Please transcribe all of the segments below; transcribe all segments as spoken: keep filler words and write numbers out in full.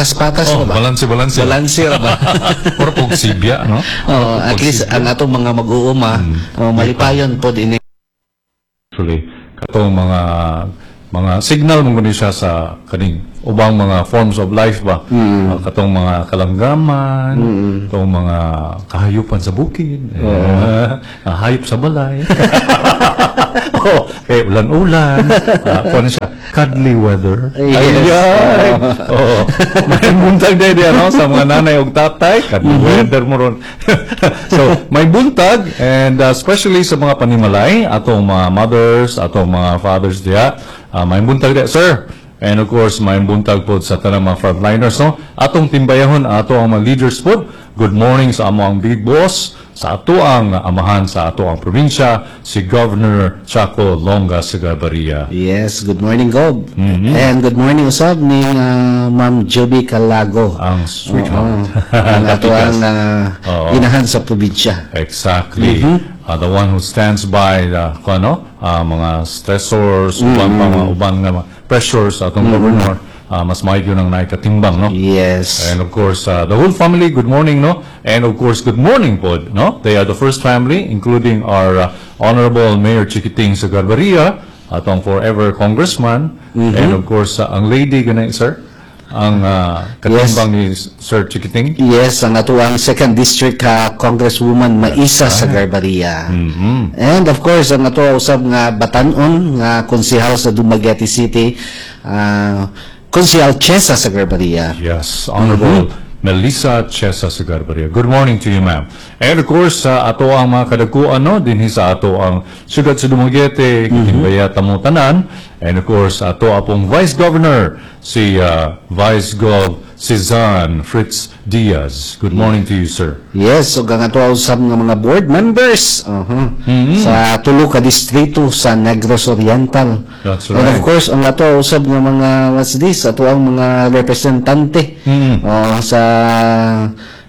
Patas-patas Oh, mo ba? Balanse, balanse. Balanse ra ba? Or pagsibya, no? Oh, at least ang atong mga mag-uuma, oh, malipayon pod ini. Actually, katong mga mga signal mo guni siya sa kaning ubang mga forms of life ba, uh, katong mga kalanggaman, katong mga kahayupan sa bukid, eh, ah, hayop sa balay, oh, eh, ulan-ulan, uh, kuan siya, cuddly weather. Yes. Ay, oh, may buntag din ano, sa mga nanay ug tatay, cuddly weather mo ron. So may buntag and uh, especially sa mga panimalay, atong mga mothers, atong mga fathers diha, uh, may buntag diha, sir. And of course, may buntag po sa tanang mga frontliners, no? Atong timbayahon, ato ang mga leaders po. Good morning sa amo ang big boss, sa ato ang amahan sa ato ang probinsya, si Governor Chaco Longa Sagarbarria. Yes, good morning, Gob. And good morning usab ni uh, Ma'am Joby Calago. Ang sweetheart. Oo, ang ato ang uh, Oo. inahan sa probinsya. Exactly. Uh, the one who stands by the kung ano, uh, mga stressors, uban pa mga uban nga mga pressures sa atong governor, uh, mas maayo nang naikatimbang, no? Yes. And of course, uh, the whole family, good morning, no? And of course, good morning pod, no? They are the first family, including our uh, Honorable Mayor Chiquiting Sagarbarria, atong forever congressman, and of course, uh, ang lady, ganay, sir, ang uh, katimbang ni Sir Chiquiting. Yes, ang ato ang second district ka Congresswoman Maisa Sagarbarria. And of course, ang ato usab nga batanon nga konsehal sa Dumaguete City, uh, Konsehal Chesa Sagarbarria. Yes, Honorable Melissa Chesa Sagarbarria. Good morning to you, ma'am. And of course, sa ato ang mga kadakuan, no, dinhi sa ato ang siyudad sa Dumaguete, Kitimbaya Tamutanan, and of course, ato apong Vice Governor, si uh, Vice Gov Cezanne Fritz Diaz. Good morning to you, sir. Yes, so ang ato usab nga mga board members uh sa tulo ka distrito sa Negros Oriental. That's And of right. course, ang ato usab nga mga, what's this, ato ang mga representante oh, sa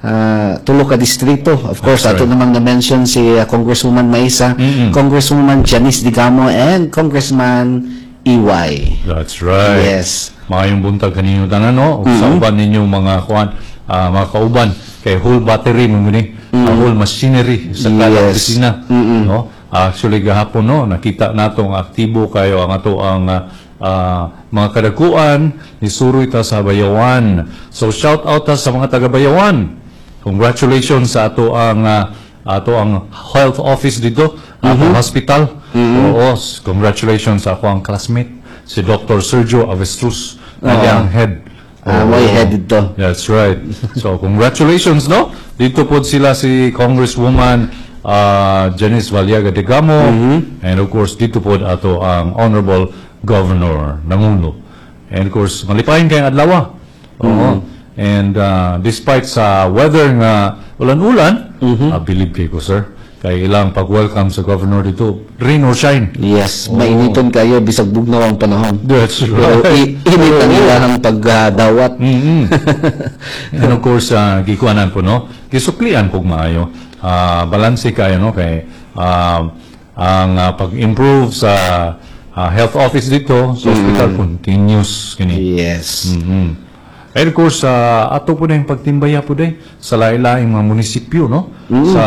ah, tulo ka distrito. Of course, That's ato right. namang na-mention si ah, Congresswoman Maisa, Congresswoman Janice Digamo, and Congressman E Y. That's right. Yes. Maayong buntag kaninyo tanan, no? Ug sa uban ninyong mga kuan, ah, mga kauban kay whole battery mo ni, ah, whole machinery sa kada Yes. opisina, no? Actually gahapon, no, nakita nato ang aktibo kayo ang ato ang ah, ah, mga kadakuan ni suroy ta sa Bayawan. So shout out ta sa mga taga Bayawan. Congratulations sa ato ang ah, ato ang health office dito, atong hospital. Oo, congratulations sa ako ang classmate si Doctor Sergio Avestruz, na ang head. Ah, Oo. May head dito. That's right. So, congratulations, no? Dito po sila si Congresswoman uh, Janice Valiaga Degamo and of course, dito po ato ang Honorable Governor Nangulo. And of course, malipayin kayong adlaw. Oo. And uh, despite sa weather nga ulan-ulan, uh, believe kay ko, sir, kay ilang pag-welcome sa governor dito, rain or shine. Yes, mainiton kayo bisag bugnaw ang panahon. That's Pero right. i- init ang ilahang pagdawat. mm And of course, uh, gikuanan po, no? Gisuklian po maayo. Uh, balanse kayo, no? Kay uh, ang uh, pag-improve sa uh, health office dito, sa hospital, continuous kini. Yes. mm And of course, uh, ato po na yung pagtimbaya po day sa lain-laing mga munisipyo, no? Sa,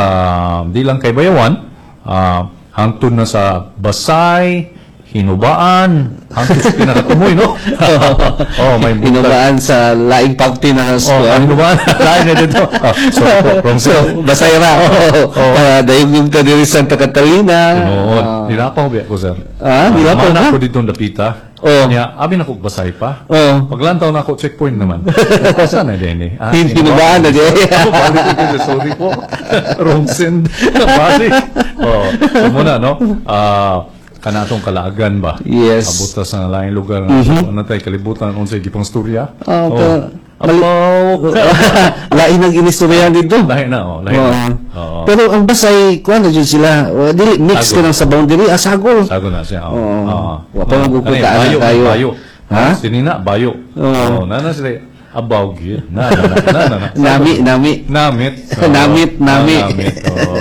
di lang kay Bayawan, uh, hangtod na sa Basay, Hinubaan, hangtod sa pinakatumoy, no? Oh, may buntag. Hinubaan sa laing parte na Oh, ang Hinubaan. Lain na dito. Oh, sorry po, wrong So, Basay ra. Oo. Uh, dayong yung ta diri Santa Catalina. Oo, Ah. nilapaw biya ko, sir. Ah, nilapaw Mana ka? ko dito dapita. Oo. Nya, abi na ko Basay pa. Oo. Paglantaw na ako, checkpoint naman. Asa na din eh? Ah, Hin- Hinubaan na di. Ako, balik ko, sorry po. Wrong send. Balik. Oh, so muna, no? Ah, kana atong Kalaagan ba? Yes. Abot ta sa laing lugar nga mm-hmm. Ano tay kalibutan unsay gipang storya? Ah, pero- Apaw. Lain ang inistoryahan dito. Lahi na, oh, lahi na. Oo. Oo. Pero ang Basay, kuan na dyan sila. O, dili, mix Sagol. ka lang sa boundary. Ah, sagol. Sago na siya. Oo. Oo. Oo. Wa pa man Ano gugod yun, ka, bayo, kayo. bayo. Ha? Sinina, bayo. Oo. Oo, nana sila. Abaw gyud. Na na na na na. na. Nami, nami. Namit. Oo. Namit, nami. Ah, namit, oo.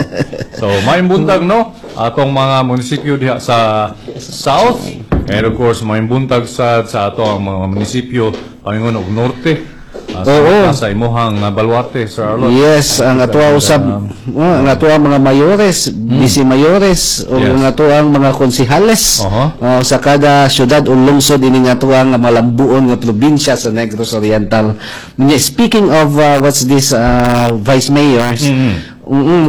So, maayong buntag, no? Atong mga munisipyo diha sa South. And of course, maayong buntag sa sa ato ang mga munisipyo paingon og Norte. Uh, sa, Oo. Sa imuhang uh, baluarte, Sir Arlot. Yes, ang atoa usab, oh, ang atoa mga mayores, vice mayores, o Hmm. Yes. ang atoang mga konsehales Oho. oh, sa kada syudad o lungsod ini nga atoang nga malambuon nga probinsya sa Negros Oriental. Nya, Speaking of uh, what's this uh, vice mayors, mm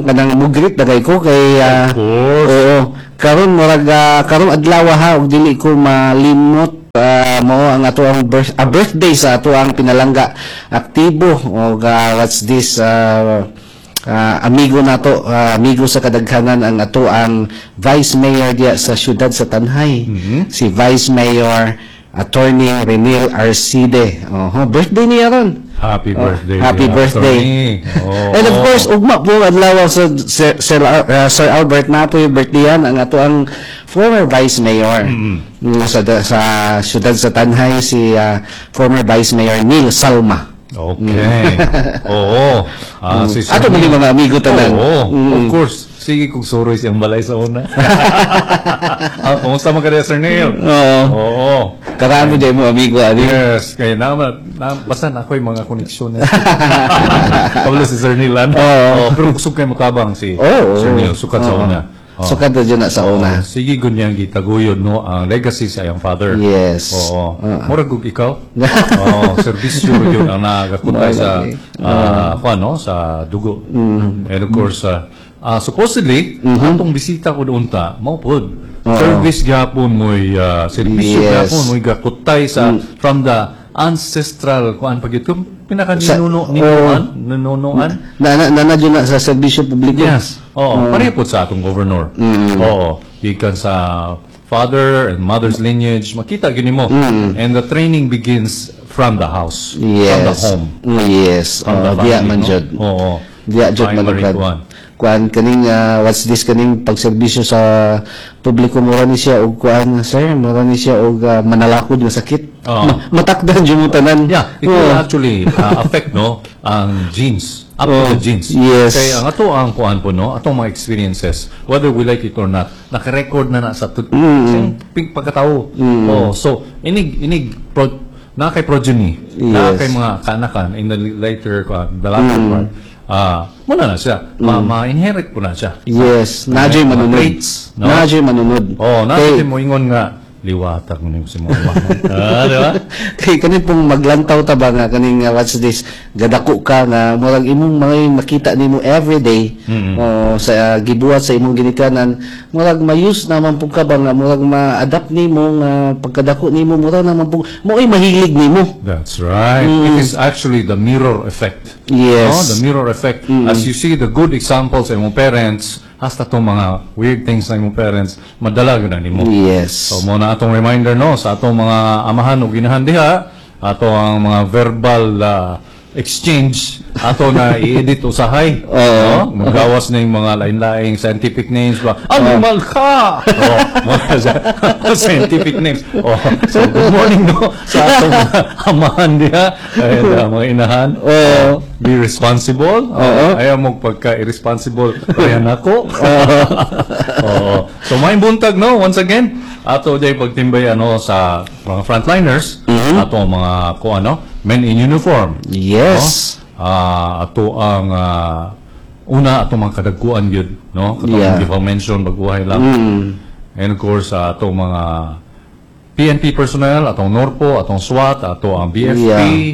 kanang mugreet dagay ko kay uh, Of course. Oo. Karon murag ah, karon adlaw ha og dili ko malimot ah, mao ang ato ang birth, ah, birthday sa ato ang pinalangga aktibo og ah, what's this ah, ah, amigo nato ah, amigo sa kadaghanan ang ato ang vice mayor diya sa syudad sa Tanjay si Vice Mayor Attorney Renil Arcide oho birthday niya ron Happy birthday. Oh, Happy birthday. Attorney. Oo. And of course, ugma po adlaw sa Sir, Sir, uh, Sir Albert na po yung birthday yan, ang ato ang former vice mayor mm, sa sa siyudad sa Tanjay si uh, former vice mayor Neil Salma. Okay. Oo. Ah, si Sir Ato mo Neil. mga amigo tanan. Oo, of course. Sige kung suroy siyang balay sa una. ah, kumusta man ka Sir Neil? Oo. Oo. Karami din mo amigo ani. Yes, kaya na, na basta na ako'y mga koneksyon na. Pablo si Sir Neil, ano? Oo. Oo, pero kusog kay mutabang si Oo. Sir Neil, sukat sa una. Oo. Sukat na dyan na sa una. Sige gunyang gitaguyod no ang legacy sa iyang father. Yes. Oo. Murag ug ikaw. Oo, serbisyo gyud ang nagakutay sa ah kuan no sa dugo. Mm-hmm. And of course, ah, ah, supposedly atong bisita ko unta mao pod. Service gyapon mo'y ah, serbisyo Yes. Mm. gyapon mo'y gakutay sa from the ancestral kuan pag ito pinaka Sa- ninuno ninunuan ninunuan Na na, na, na, dyan na sa serbisyo publiko. Yes. Oo, pareho po sa atong governor. Oo, gikan sa father and mother's lineage, makita gyud nimo. And the training begins from the house, Yes. from the home, Mm, Yes. from the Oh, diya family, man no? jud. Oo. Diya jud man Primary jud. kuan. Kuan kaning ah, what's this kaning pagserbisyo sa publiko mura ni siya og kuan sir, mura ni siya og ah, manalakod nga sakit. Oo. Ma- matakdan jud mo tanan. Yeah, it Oo. will actually uh, affect no ang genes, up to the genes. Yes. Kaya ang ato ang kuan po no, atong mga experiences, whether we like it or not, naka-record na na sa tut- Mm. sa ping pagkatao. Oh, so inig inig pro, na kay progeny, na Yes. Mm. kay mga kanakan in the later kuan, the latter part. Ah, muna na siya. Ma, ma-inherit po na siya. Yes, naa juy Mga manunod. traits, no? Naa juy manunod. Oh, na Kay- mo ingon nga liwatag mo nimo si mama. ah, di ba? Kay kanin pong maglantaw ta ba nga kaning uh, what's this gadako ka nga murag imong mga makita nimo everyday oh, sa uh, gibuhat sa imong ginikanan murag mayus naman pud ka ba nga murag ma-adapt nimo nga pagkadako nimo murag naman pud mo ay mahilig nimo That's right. It is actually the mirror effect. Yes. No, the mirror effect. As you see the good examples sa imong parents, hasta tong mga weird things sa imong parents, madala gyud na nimo. yes So mo na atong reminder no sa atong mga amahan ug inahan diha, ato ang mga verbal ah, exchange ato na i-edit usahay. No? Magawas na yung mga lain-laing scientific names ba. Animal ka! Oh, mga scientific names. Oh, so good morning no sa atong mga amahan diha and ah, mga inahan. Oo. Be responsible. Oo. Ayaw mo pagka-irresponsible. Kaya nako. Oo. So may buntag no once again ato day pagtimbay ano sa mga frontliners ato ang mga ko ano men in uniform. yes No? Ah, ato ang ah, una ato mga kadagkuan gyud no katong Yeah. yeah. mention baguhay lang. And of course ah, ato mga PNP personnel, atong NORPO, atong SWAT, ato ang BFP,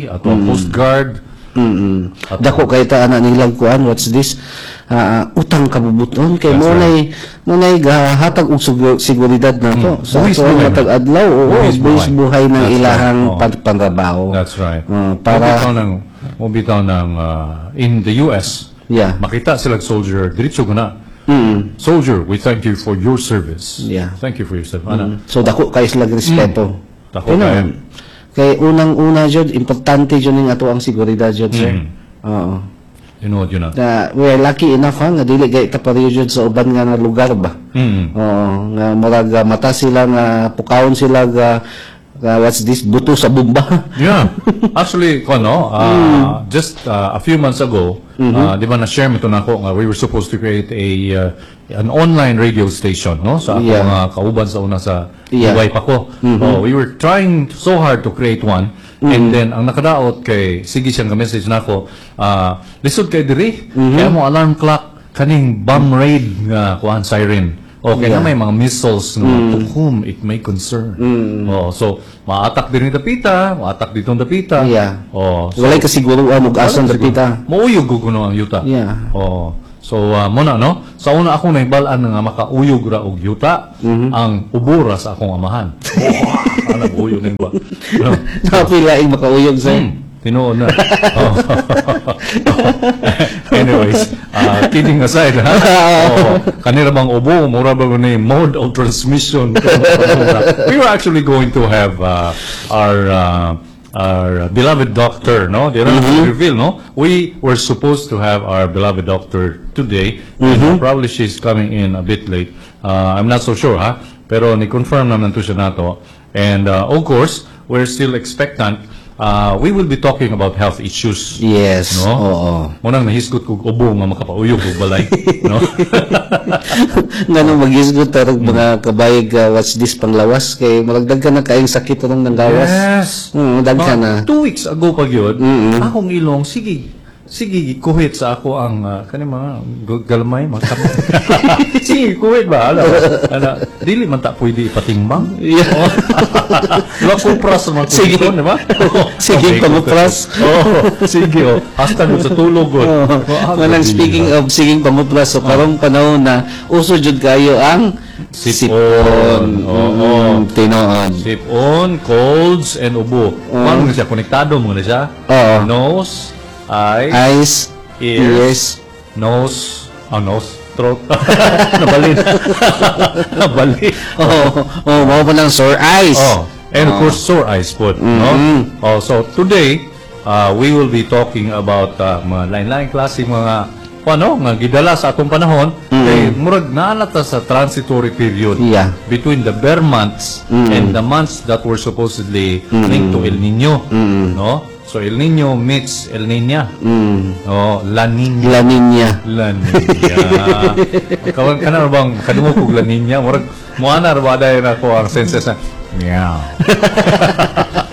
Yeah. ato ang Coast Guard. Mm. Dako kay ta ana nilang kuan what's this Ah, utang kabubuton kay That's mo nay mo nay gahatag og sugu- seguridad nato sa Buwis ato ang buhay. matag adlaw oo Buwis buwis buhay. buhay ng That's ilahang right. Oo. pan- pantrabaho That's right. Ah, para Mobitaw ng mobitaw ng ah, in the US. Yeah. Makita sila soldier diretso ko na. Mm. Soldier, we thank you for your service. Yeah. Thank you for your service. Ana. So dako kay sila respeto. Dako Kaya kayo. Kay unang-una jud importante jud ning ato ang seguridad jud sir. Oo. Tinuod yun na. Na we are lucky enough ha nga dili kay ta pareho jud sa uban nga nga lugar ba. Mm. Oo, nga murag ah, mata sila nga pukawon sila ga ga, what's this buto sa bomba. Yeah. Actually, ko no, uh, just uh, a few months ago, uh, di ba na-share mo ito na ako nga we were supposed to create a uh, an online radio station, no? Sa akong Yeah. mga kauban sa una sa Yeah. Dubai pa ko. Oh, we were trying so hard to create one And then ang nakadaot kay sige siyang ka-message nako, ah lisod kay diri. Kaya mo alarm clock kaning bomb raid nga kuan siren. Okay na Yeah. may mga missiles nga to whom it may concern. Oh, so maatak din ni dapita, maatak ditong dapita. Yeah. Oh, so, Walay kasiguruan og asan dapita. Mauyog ko kuno ang yuta. Yeah. Oh. So uh, mo na no. Sa una ako nahibal-an nga makauyog ra og yuta ang ubo ra sa akong amahan. Oh, ana uyog ning ba. No. Napilaing makauyog sir. Hmm, tinuod na. Oh. Anyways, uh, kidding aside, ha? Oh, kanira bang ubo, mura ba ni mode of transmission? We were actually going to have uh, our uh, our beloved doctor, no? Di na reveal, no? We were supposed to have our beloved doctor today. And probably she's coming in a bit late. Uh, I'm not so sure, ha? Pero ni-confirm naman to siya nato. And uh, of course, we're still expectant. Uh, we will be talking about health issues. Yes. No? Oo. Munang nahisgot kog ubo nga makapauyog og balay, no? Ngano maghisgot tarog mga kabayig uh, what's this panglawas kay murag daghan na kaayong sakit tarong nang gawas. Yes. Mm, daghan Mga na. Two weeks ago pa gyud, akong ilong sige sige gikuhit sa ako ang uh, kani mga gu- galmay mga kap- sige kuhit ba ala ala dili man ta pwede ipatingbang Yeah. Wala kupras man Sige. kuhit di ba Sige, Okay, pangupras. Oh, sige oh. Hasta mo sa tulog gud. Oh, Oh, Manang grabe. speaking of siging panguplas, so karong panahon na uso jud kayo ang Sipon. Oo. Mm, tinuod. Sipon, colds, and ubo. Paano na siya? Konektado mo na siya? Oo. Nose, eyes, Eyes, ears, ears, nose, oh, nose, throat. Nabalin. Nabalin. Oh, oh, mao pa lang sore eyes. Oh, and of course, sore eyes po. No? Oh, so today, uh, we will be talking about uh, mga lain-lain klase mga ano, nga gidala sa atong panahon kay murag naa na ta sa transitory period Yeah. between the ber months and the months that were supposedly linked to El Nino. No? So El Nino meets El Niña. Oh, La Niña. La Niña. La Niña. Kawan kana ra bang kadungog kog La Niña, murag moana ra ba dayon ako ang senses na meow.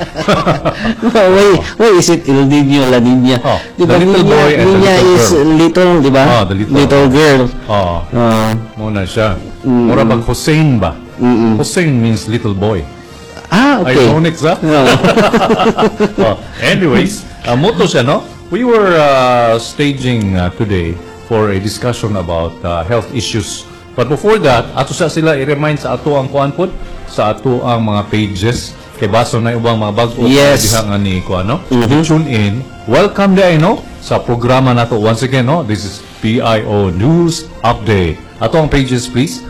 why, why is it El Niño, La Niña? Oh, Di ba, the little Niña, boy and the Niña little is girl. little, di ba? Oh, the little. girl. Oh, Ah. mo na siya. Mura bang Hussein ba? Hussein means little boy. ah, okay. Ironic sa? Oo. oh, anyways, uh, moto siya, no? We were uh, staging uh, today for a discussion about uh, health issues. But before that, ato sa sila i-remind sa ato ang kuan pod, sa ato ang mga pages kay baso na ubang mga bag-o Yes. diha nga ni kuan no. Tune in. Welcome diay no sa programa nato once again no. This is PIO News Update. Ato ang pages please.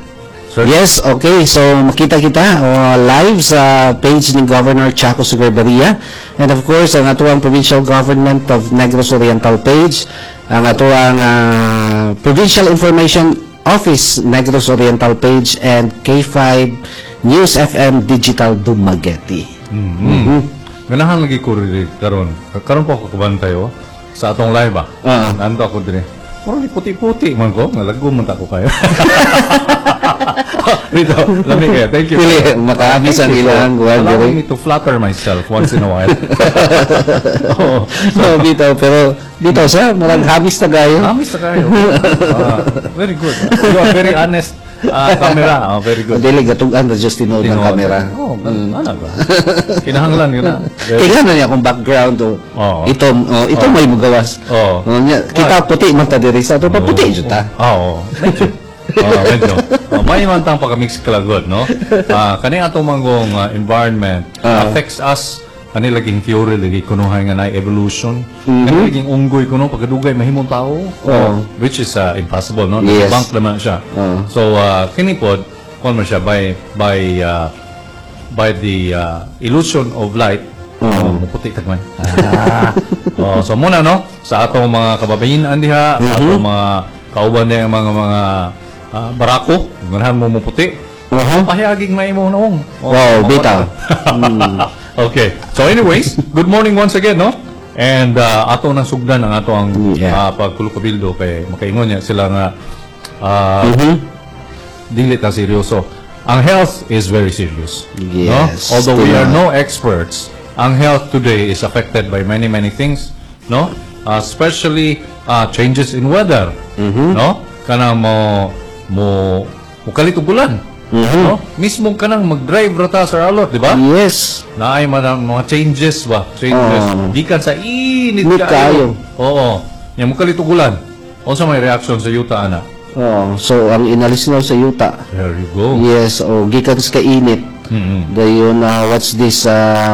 Sir. Yes, okay. So makita kita uh, live sa page ni Governor Chaco Sagarbarria. And of course, ang atuang Provincial Government of Negros Oriental page, ang atuang uh, Provincial Information Office Negros Oriental page and K five News F M Digital Dumaguete. Mm. Ganahan lagi ko rin karon. Karon po ako kabantay oh. Sa atong live ba. Ah. Nando ako dire. Murag ni puti-puti man ko, nalago man ta ko kayo. Dito, lami kayo. Thank you. Pili, makaamis ang Thank you for ilang guwan, allowing diri. me to flatter myself once in a while. Oo. So, bitaw, pero bitaw siya, murag hamis na gayo. Amis na kayo. Ah, very good. You are very honest. Ah, camera. Oh, very good. Dili gatugan ra just tinuod ng Tinuod. camera. Oh, ano ba? Kinahanglan yun na. Very- Kailangan na niya akong background o. Oo. Ito, oh, ito may mugawas. Oo. Oh, nya, kita puti man ta diri sa ato pa puti jud ta. Oo. Medyo. Oo, medyo. Oh, may man tang pagka-mix kalagod, no? Ah, kani atong manggong ah, environment Ah. affects us kani laging theory lagi kunuhay nga na evolution. Kani laging unggoy kuno pagkadugay mahimong tao. Oo. Which is ah, impossible, no? Yes. Bank naman siya. Oo. So, uh, kini pod kuan man siya by by ah, by the ah, illusion of light. Oh, muputi tagmay. Ah. oh, so muna no sa atong mga kababayen diha, sa atong mga kauban niya mga mga ah, barako, ganahan mo muputi. Uh-huh. Pahayaging may mo noong. Oh, Wow, bitaw. okay. So anyways, good morning once again, no? And uh, ato nang sugdan ang ato ang Yeah. ah, pagkulukabildo kay makaingon niya sila nga ah, Mhm. dili ta seryoso. Ang health is very serious. Yes, No? Although we are tama. no experts, Ang health today is affected by many many things, no? Uh, especially uh, changes in weather, no? Kanang mo mo mukalit og ulan. No? Mismo kanang mag-drive ra ta Sir Arlot, di ba? Yes. Naay man ang mga changes ba? Changes. Oo. Gikan sa init Init kaayo. Oo. Nya mukalit og ulan. Unsa may reaction sa yuta ana? Oh, so ang inalis na sa yuta. There you go. Yes, oh, gikan sa kainit. Mm-mm. Dayon uh, what's this uh,